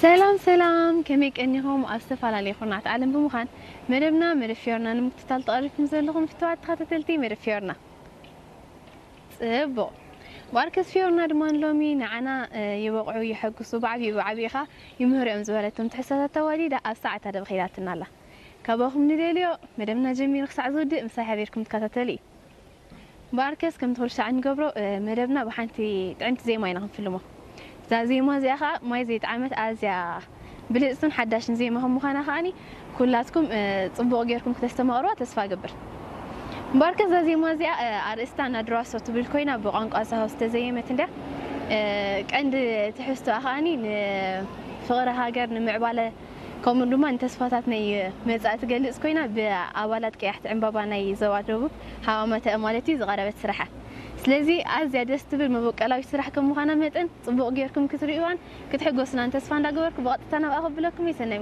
ሰላም ሰላም፣ ከመይ ቀኒኹም? ኣብ ዝተፈላለዩ ኩርናዓት ዓለም ብምዃን መደብና መደብ ፊዮርና ንምክትታል ተቐሪብኩም ዘለኹም ፍትዋት ተኸታተልቲ መደብ ፊዮርና፣ ጽቡቕ። ባርከስ ፊዮርና ድማ ንሎሚ ንዓና ይበቕዑ፣ ይሐጉሱ፣ ብዓብዩ ብዓብዩ ኸኣ ይምህሩ እዮም ዝበለቶም ትሕዝቶታት ተዋዲዳ ኣብ ሰዓታ ደብኺላትና ኣላ። ካባኹም ንደልዮ መደብና ጀሚሩ ክሳዕ ዝውድእ ምሳይ ሓቢርኩም ትከታተሉ እዩ። ባርከስ ከም ትኹል ሻዕ እንገብሮ መደብና ብሓንቲ ጥዕምቲ ዜማ ኢና ክንፍልሞ። እዛ ዜማ እዚኣ ከዓ ማይ ዘይጠዓመት ኣዝያ ብልፅትን ሓዳሽን ዜማ ከም ምዃና ከዓኒ ኩላትኩም ፅቡቕ ጌርኩም ክተስተማቕርዋ ተስፋ እገብር። ባርከስ እዛ ዜማ እዚኣ ኣርእስታ ናድራሶ ትብል ኮይና ብቋንቋ ሳሆ ዝተዘየመት እንድያ። ቀንዲ ትሕዝቶኣ ከዓኒ ንፍቕሪ ሃገር ንምዕባለ ከምኡ ድማ ንተስፋታት ናይ መጻኢ ትገልጽ ኮይና ብኣባላት ቀያሕቲ ዕምባባ ናይ ዞባ ደቡብ ሃዋመተአ ማለት እዩ ዝቐረበት ስራሓ። ስለዚ ኣዝያ ደስ ትብል መበቀላዊት ስራሕ ከም ምዃና መጠን ጽቡቕ ጌርኩም ክትርእይዋን ክትሕጎስናን ተስፋ እንዳገበርኩ ብቐጥታ ናብኣ ከብለኩም እየ። ሰናይ